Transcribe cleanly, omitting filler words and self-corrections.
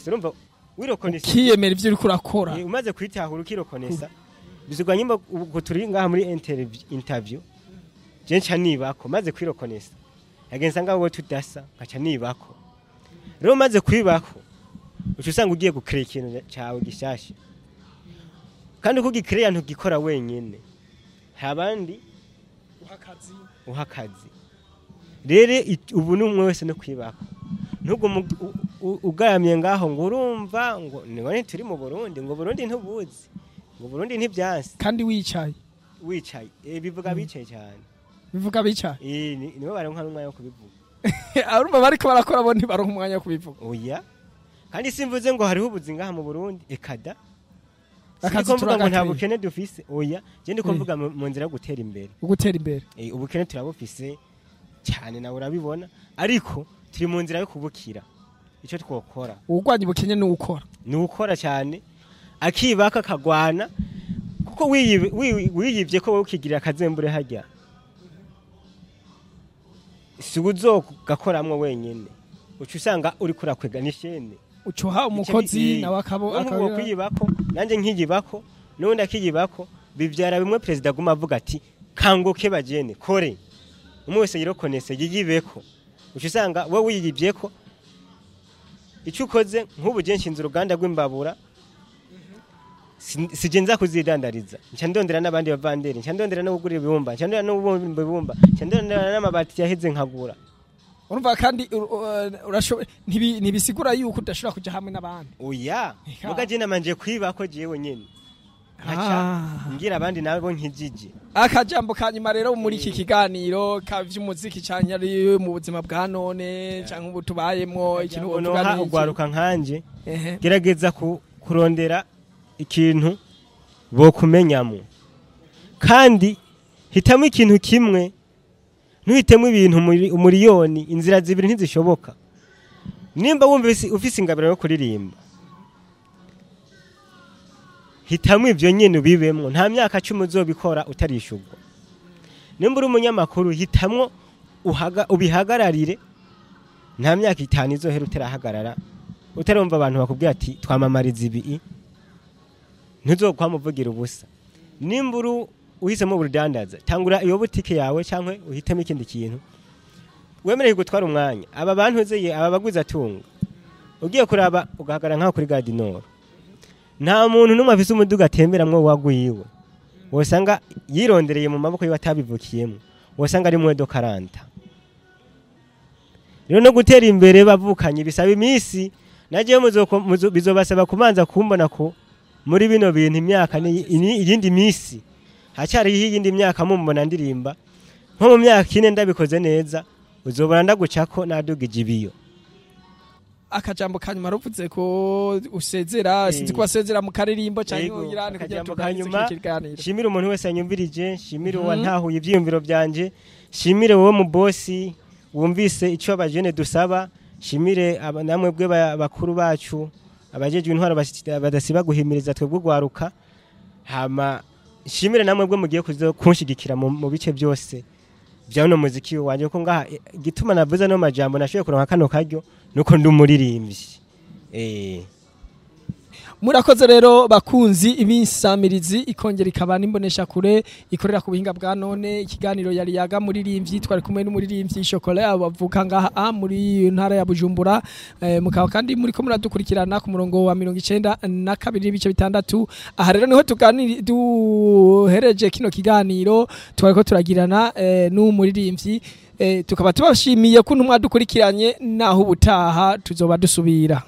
Urumva wireconnaissa, Ukiyemera ivyo uriko urakora. Umaze kwitahura, ukireconnaissa, bizigwa nyimba ubwo turi ngaha muri interview, je nca nibako maze kwireconnaissa, yagenza ngaho tudasa, nkaca nibako. Rero maze kwibako, uca usanga ugiye gucréa ikintu cawe gishasha, kandi uko ugicréa ntugikora wenyene, hari abandi uha akazi. Rero ubu ni umwe wese no kwibako, ntugume ugaramye ngaho ngo urumva ngo none turi mu Burundi, ngo Burundi ntubuzi, ngo Burundi ntibyanse. Kandi wicaye. Wicaye, bivuga bicaye cyane. Bivuga bicaye. Nibo baronka n'umwanya wo kubivuga. Urumva bariko barakora bo ntibaronka umwanya wo kubivuga. Oya, kandi simvuze ngo hariho ubuzi ngaha mu Burundi, ekada. Akazi Sindiko mvuga ngo nta turagakwiye. bukene dufise, oya, je ndiko mvuga mu nzira yo gutera imbere. Ugutera imbere. Ubukene turabufise cyane, nawe urabibona, ariko turi mu nzira yo kubukira. Icyo twokora, Uwurwanya ubukene ni uwukora. Ni ukora cyane, akibaka, akagwana, kuko wiyibye ko wowe ukigirira akazembure hajya, si uzogakoramwo wenyene, uca usanga uriko urakwega n'ishene. Ucuha umukozi nawe akabo. Nk'ubu kwiyibako, nanjye nkiyibako, n'ubundi akiyibako, bivyara bimwe perezida aguma avuga ati: "Kanguke bajene, kore." Umwe wese yireconnaisse, yiyibeko, uca usanga wowe wiyibyeko icyo ukoze. Nk'ubu je nshinze uruganda rw'imbabura, sije nza kuzidandariza, nca ndondera n'abandi bavanderi, nca ndondera no kugura ibibumba, nca ndondera no kubumba ibibumba, nca ndondera n'amabati yaheze nkagura. Urumva kandi ntibisigura yuko udashobora kuja hamwe n'abandi. Oya. Eka. Muga je namanje kwibako jewe nyene, nkaca ngira abandi nabo nkijije. Akajambo ka nyuma rero muri iki kiganiro ka vy'umuziki canke ari mu buzima bwa none canke ubu tubayemwo, ikintu Noha wovuga ni iki? ugwaruka nkanje, gerageza kurondera ikintu bokumenyamo, kandi hitamo ikintu kimwe, ntuhitemo ibintu umuriyoni. Inzira zibiri ntizishoboka. Nimba wumva ufise ingabiro yo kuririmba, hitamo ivyo nyene ubibemwo, nta myaka 10 uzobikora utarishurwa. Nimba uri umunyamakuru, hitamwo ubihagararire, nta myaka 5 izohera utarahagarara, utarumva abantu bakubwira ati: "Twamamariza ibi." Ntuzokwamuvugira ubusa. Nimba uri uhisemo ubudandaza, tangura iyo butike yawe cyangwa uhitemo ikindi kintu wemerewe gutwara umwanya. Aba bantu uzeye, aba baguzi atunga, ugiye kuraba ugahagarara nkaho kuri Gare du Nord, nta muntu n'umwe afise umuduga atemberamwo wagwiwe wosanga yirondereye mu maboko yiwe atabivukiyemo, wosanga ari mwedo karanta. Rero no gutera imbere bavukanye bisaba iminsi. Nagiye bizobasaba kumanza kumbona ko muri bino bintu imyaka ni iyindi minsi, hacyariho iyindi myaka mumbona ndirimba. Nko mu myaka 4 ndabikoze neza, uzobona ndagucako nadugije ibiyo. Akajambo ka nyuma, ruvuze ko usezera, sinzi ko wasezera mu karirimbo canke Yego, uyirane kugira akajambo tuganirize ka nyuma, kino kiganiro. Shimire umuntu wese yanyumvirije, shimire uwantahuye ivyiyumviro vyanje, shimire wowe mu bosi wumvise ico abajene dusaba, shimire namwe bwe bakuru bacu abajejwe intwaro badasiba guhimiriza twebwe ugwaruka, hama shimire namwe bwe mugiye kuzo kunshigikira mu bice byose vya uno muziki wanje, ko ngaha igituma navuze no majambo, nashoboye kuronka kano karyo nuko ndi umuririmbyi. Murakoze rero bakunzi ibinsamirizi ikongera ikaba n'imbonesha kure ikorera ku buhinga bwa none. Ikiganiro yari yaga muririmbyi, twari kumwe n'umuririmbyi Chocolat bavuka ngaha muri ntara ya Bujumbura, mukaba kandi muri ko muradukurikirana ku murongo wa 92.6. Aha rero niho tuganiri duhereje kino kiganiro twari ko turagirana n'umuririmbyi, tukaba tubashimiye ko mwadukurikiranye, naho ubutaha tuzoba dusubira.